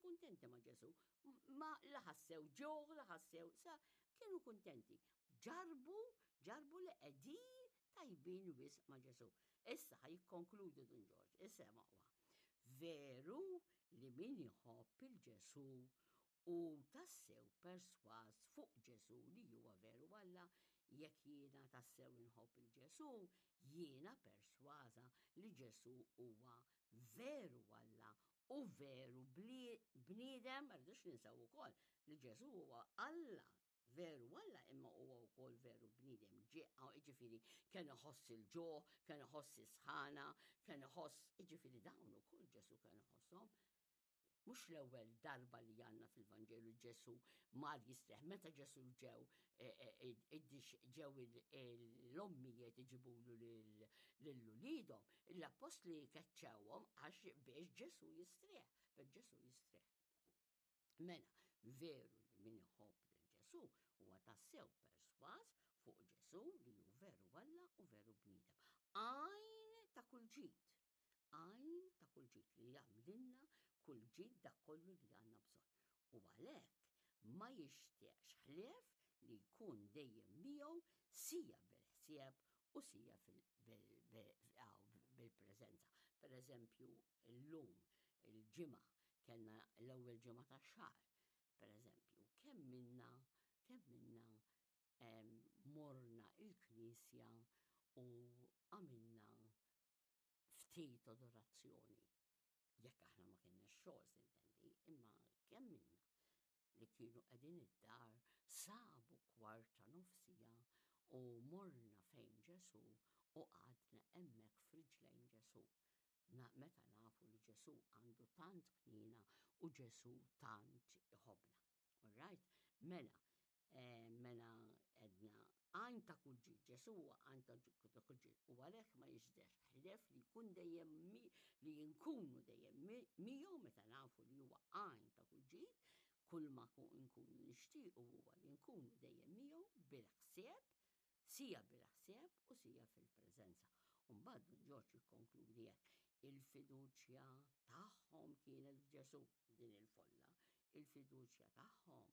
kuntenti ma' Ġesù. Ma la ħassew ġuħ, la ħassew, sa kienu kuntenti. Ġarbu, ġarbu li qegħdin tajbin wisq ma' Ġesù. Issa ħa jikkonkludu Dun Ġorġ, isemgħuha. Veru li min iħobb il-Ġesù u tassew persważ fuq Ġesù li huwa veru Alla, jekk jiena tassew inħobb il-Ġesù, jiena persważa li Ġesù huwa veru Alla u veru bniedem, ma rridux ninsew ukoll li Ġesù huwa Alla veru Alla imma huwa wkoll veru bniedem. Ġifieri kien iħoss il-ġuħ, kien iħoss is-sħana, kien iħoss, jiġifieri dawn ukoll Ġesù kien iħosshom. Mhux l-ewwel darba li għandna fil-Vanġelu Ġesù mar jistrieħ. Meta Ġesù ġew e, e, e, ġew l-ommijiet iġibulu lil uliedhom, l-appostli keċċewhom għax biex Ġesù jistrieħ, biex Ġesù jistrieħ. Mela, veru li min iħobb lil Ġesù huwa tassew persważ fuq Ġesù li hu veru Alla u veru bniedem. Għajn ta' kull ġid, għajn ta' kull ġid li jagħmlilna kull ġid dak kollu li għandna bżonn. U għalhekk ma jixtieqx ħlief li jkun dejjem miegħu sija bil-ħsieb u sija bil-preżenza. Per eżempju, illum il-ġimgħa kellna l-ewwel ġimgħa tax-xahar, per eżempju, kemm minna kemm minna morna il-knisja u għamilna ftit adorazzjoni. Jekk aħna ma kienna xogħol sintendi, imma kemm minna li kienu qegħdin id-dar sabu kwarta nofsija u morna fejn Ġesù u qgħadna hemmhekk f'riġlejn Ġesù. Na, meta nafu li Ġesù għandu tant ħniena u Ġesù tant iħobbna. All right? Mela, eh, mela edna għan ta' kull ġid, Ġesù huwa għan ta' kull ġid, u għalhekk ma jiġdex ħlief li jkun dejjem li nkunu dejjem miegħu meta nafu li huwa għan ta' kull ġid, kull ma nkunu nixtiequ huwa li nkunu dejjem miegħu bil-ħsieb, sija bil-ħsieb u sija fil-preżenza. Mbagħad Dun Ġorġ jikkonkludi hekk, il-fiduċja tagħhom kienet f'Ġesù din il-folla, il-fiduċja tagħhom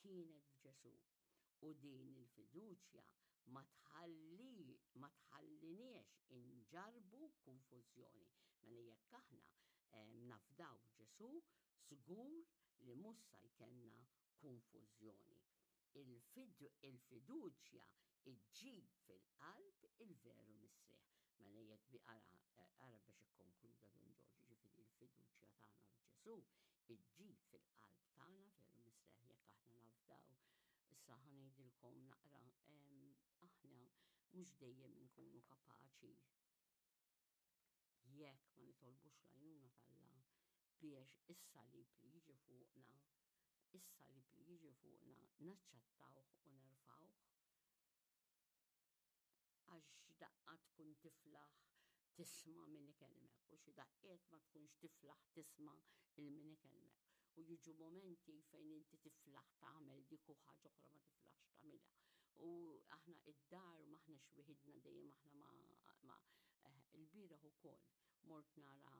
kienet f'Ġesù u din il-fiduċja ma tħalli ma tħalliniex inġarbu konfużjoni. Mela jekk aħna eh, nafdaw Ġesù, żgur li mhux sa jkollna konfużjoni. Il-fiduċja iġġib fil-qalb il-veru mistrieħ. Mela jekk bi ara, ara biex ikkonkluda Dun Ġorġ, ġifieri il-fiduċja tagħna f'Ġesù iġġib fil-qalb tagħna veru mistrieħ jekk aħna nafdaw. Issa ħa ngħidilkom naqra aħna mhux dejjem inkunu kapaċi jekk ma nitolbux l-għajnuna t'Alla biex is-salib li jiġi fuqna, is-salib li jiġi fuqna naċċettawh u nerfawh. Għax daqqa tkun tiflaħ tisma' min ikellmek u xi daqqiet ma tkunx tiflaħ tisma' il min ikellmek. U jiġu momenti fejn inti tiflaħ tagħmel dik u ħaġa oħra ma tiflaħx tagħmilha. U aħna id-dar m'aħniex wieħidna dejjem aħna ma, ma eh, il-bieraħ ukoll mort nara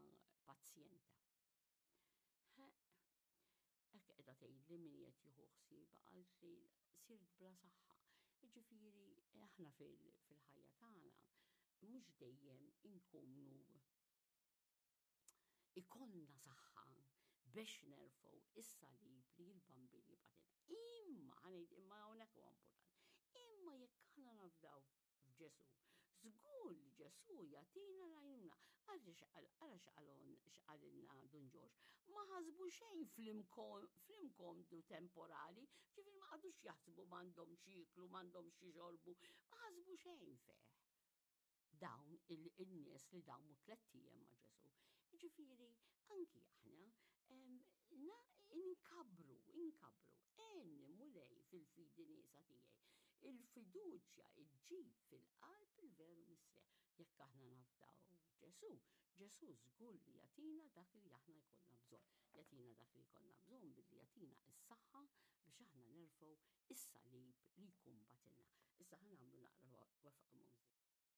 pazjenta. Hekk qiegħda tgħidli min qed jieħu ħsiebha qalt li sirt bla saħħa. Jiġifieri aħna fil-ħajja tagħna mhux dejjem inkunu ikollna saħħa biex nerfgħu is-salib li l-bambin jibgħatilna. Imma ħanejd imma hawnhekk huwa importanti. Imma jekk aħna nafdaw f'Ġesù. Żgur li Ġesù jagħtina l-għajnuna. Ara x'qalon x'qalilna Dun Ġorġ. Ma ħasbu xejn fl-imkomdu temporali, ġifieri ma qagħdux jaħsbu m'għandhomx jieklu, m'għandhomx jixorbu, ma ħasbu xejn fih. Dawn il-nies li damu tlett ijiem ma' Ġesù. Ġifieri anki aħna inkabru, inkabru, għenni Mulej fil-fidi nieqsa tiegħi. Il-fiduċja iġġib fil-qalb il-veru mistrieħ. Jekk aħna nafdaw Ġesù, Ġesù żgur li jagħtina dak li aħna jkollna bżonn. Jagħtina dak li jkollna bżonn billi jagħtina s-saħħa biex aħna nerfgħu is-salib li jkun batilna. Issa ħa nagħmlu naqra wefqa mużika.